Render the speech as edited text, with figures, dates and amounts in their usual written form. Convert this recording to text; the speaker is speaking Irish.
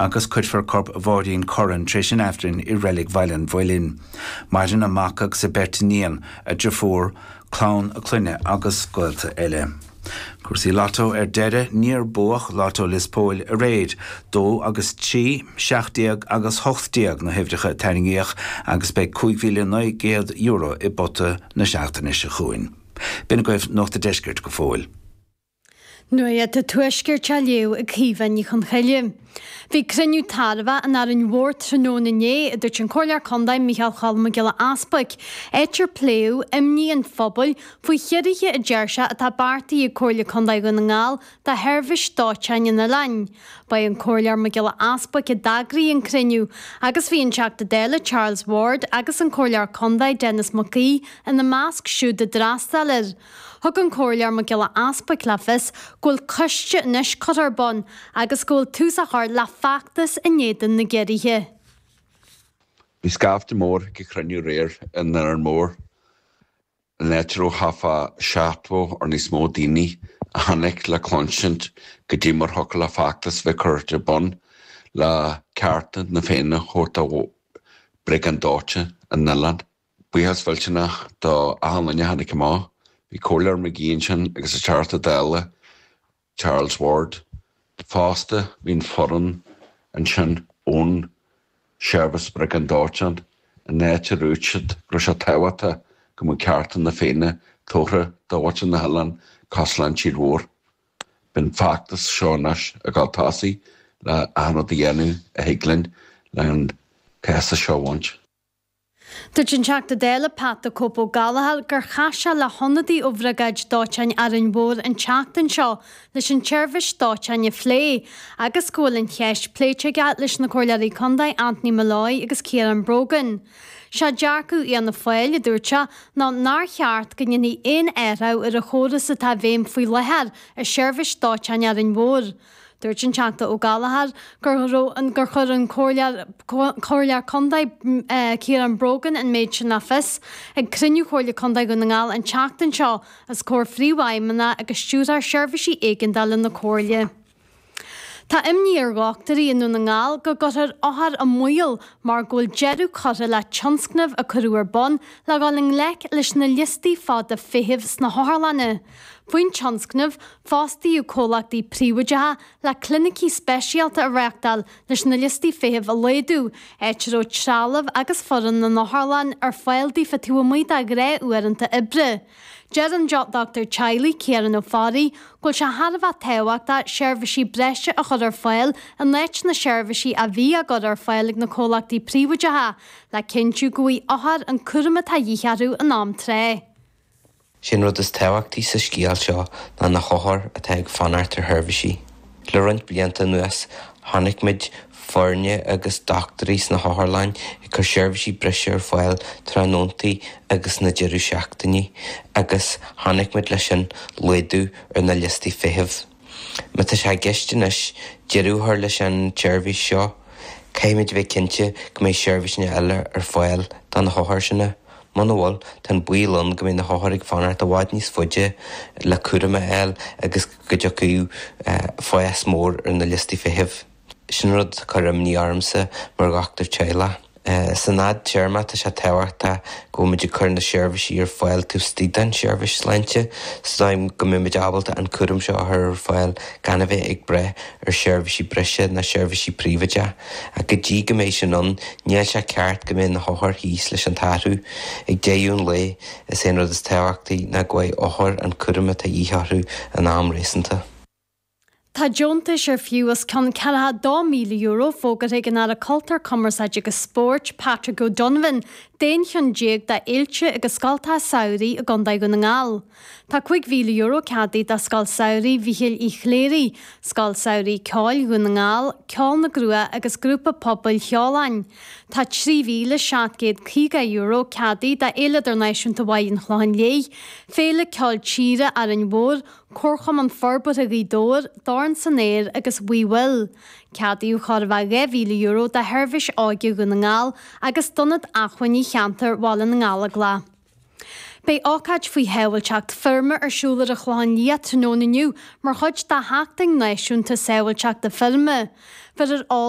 agus cuirfear corp Mháirín Curran tar éis an Aifrinn i Reilig Bhaile an Mhuilinn. Maireann a mac agus a beirt iníon, a driofúr, clann a clainne agus gaolta eile. Cúrsaí Lotto ar deireadh, níor buadh Lotto Lios Póil aréir. 2 agus 3, 17 agus 18 na huimhreacha a tarraingíodh agus beidh €5,900 i bpota na seachtaine seo chugainn. B'in agaibh Nuacht an Deiscirt go fóill. Nuacht an Tuaiscirt á léamh ag Caoimhe Ní Chonchoille. Bhí cruinniú tairbheach in Árainn Mhór tráthnóna inné, a dúirt an Comhairleoir Contae Micheál Cholm Mac Giolla Easbuic, áit ar pléadh imní an phobail faoi chiorruithe a deir sé atá beartaithe ag Comhairle Contae Dhún na nGall do sheirbhís dóiteáin an oileáin. Ba é an Comhairleoir Mac Giolla Easbuic a d'eagraigh an cruinniú agus bhí an Teachta Dála Charles Ward agus an Comhairleoir Contae Denis Mac Aoidh ina measc siúd a d'fhreastail air. Thug an Comhairleoir Mac Giolla Easbuic le fios go bhfuil coiste anois curtha ar bun agus go bhfuil tús á chur le feachtas in éadan na gciorruithe. Bhí scaifte mór ag an chruinniú aréir in Árainn Mhór, an áit a raibh thart fá 70 or níos mó daoine a tháinig le cluinsint goidé mar thiocfadh le feachtas bheith curtha ar bun le cearta na Féinne a thabhairt do Bhriogáid Dóiteáin an oileáin. Buíochas mhillteanach do achan duine a tháinig amach. Bhí Comhairleoir McGee ansin agus an Teachta Dála Charles Ward. Fosta bhí an foireann ansin ón Seirbhís Briogáid Dóiteáin an áit a dúirt siad go raibh sé tábhachtach go mbeadh cearta na Féinne tabhartha do mhuintir na hoileáin cosúil leis an tír mhór. Beidh an feachtas seo anois ag dul tosaigh le achan rud a dhéanamh a thig linn le an cás seo a bhaint. Dúirt an Teachta Dála Pat 'The Cope' Ó Gallchóir gur chas sé le hionadaí ó Bhriogáid Dóiteáin Árainn Mhór an tseachtain seo leis an tseirbhís dóiteáin a phlé agus go bhfuil an cheist pléite aige leis na Comhairleoirí Contae Anthony Molloy agus Ciarán Brogan. Sé dearcadh Fhianna Fáil, a dúirt sé, ná nár cheart go ndéanfaí aon athrú ar an chóras atá i bhfeidhm faoi láthair i seirbhís dóiteáin Árainn Mhór. Dúirt an Teachta Ó Gallchóir gur raibh an gur chuir an Comhairleoir Contae Ciarán Brogan an méid sin le fios ag cruinniú Chomhairle Contae Dhún na nGall an tseachtain seo os comhair Phríomhfheidhmeannach agus Stiúrthóir Seirbhísí Éigeandála na Comhairle. Tá imní ar dhochtúirí i nDún na nGall go gcuirfear othair i mbaol mar go bhfuil deireadh curtha le tionscnamh a cuireadh ar bun le dhul i ngleic leis na liostaí fada feithimh sna hotharlanna. Faoin tionscnamh, fostaíodh comhlachtaí príobháideacha le clinicí speisialta a reáchtáil leis na liostaí feithimh a laghdú, áit a raibh trealamh agus foireann na n-otharlann ar fáil daofa taobh amuigh de ghnáth-uaireanta oibre. Deir an dochtúir teaghlaigh, Ciarán Ó Fearraigh, go bhfuil sé thar a bheith tábhachtach seirbhísí breise a chur ar fáil in áit na seirbhísí a bhí á gcur ar fáil ag na comhlachtaí príobháideacha, le cinntiú go bhfaighidh othair an cúram atá de dhíth orthu in am tráth. Sé an rud is tábhachtaí sa scéal seo ná na hothair atá ag fanacht ar sheirbhísí. Le roinnt blianta anuas, chonaic muid foirne agus dochtúirí sna hotharlanna ag cur seirbhísí breise ar fáil tráthnóntaí agus sna deireadh seachtainí agus chonaic muid leis sin laghdú ar na liostaí feithimh. Má tá sé i gceist anois deireadh a chur leis an tseirbhís seo, caithfimid a bheith cinnte go mbeidh seirbhísí eile ar fáil do na hothair sin. Muna bhfuil, tá an baol ann go mbeidh na hothair ag fanacht i bhfad níos faide le cúram a fháil agus go dtiocfaidh fás mór ar na liostaí feithimh. Sin rud atá ag cur imní ormsa mar dhochtúir teaghlaigh. San fhadtéarma tá sé tábhachtach go bhfuil muid ag cur na seirbhísí ar fáil taobh istigh den seirbhís sláinte sa dóigh go mbeidh muid ábalta an cúram seo a chur ar fáil gan a bheith ag brath ar sheirbhísí breise ná seirbhísí príobháideach. Ach go dtí go mbeidh sin ann, níl sé ceart go mbeidh na hothair thíos leis an t-athrú. Ag deireadh an lae, is é an rud is tábhachtaí ná go bhfaighidh othair an cúram atá de dhíth orthu in am réasúnta. Tá deontais ar fiú os cionn €42,000 fógartha ag an Aire Cultúir, Cumarsáide agus Spóirt, Patrick O'Donovan, d'aon cheann déag d'fhéilte agus scoltacha samhraidh i gContae Dhún na nGall. Tá €5,000 ceadaithe do Scoil Samhraidh Mhichíl Uí Chléirigh, Scoil Samhraidh Ceoil Dhún na nGall, Ceol na gCruach agus Grúpa Pobail Sheoláin. Tá €3,750 ceadaithe do Fhéile Idirnáisiúnta Bhaile an Chlocháin Léith, Féile Ceoil Tíre Árainn Mhór, Comharchumann Forbartha Ghaoth Dobhair, Dorn san Aer agus We Will. Ceadaíodh chóir a bheith €2,000 do Sheirbhís Óige Dhún na nGall agus d'Ionad Acmhainní Cheantar Bhaile na nGallóglach. Beidh ócáid faoi shábháilteacht feirme ar siúl ar an Chlochán Liath tráthnóna inniu mar chuid de Sheachtain Náisiúnta Sábháilteachta Feirme. Bheirfear eolas.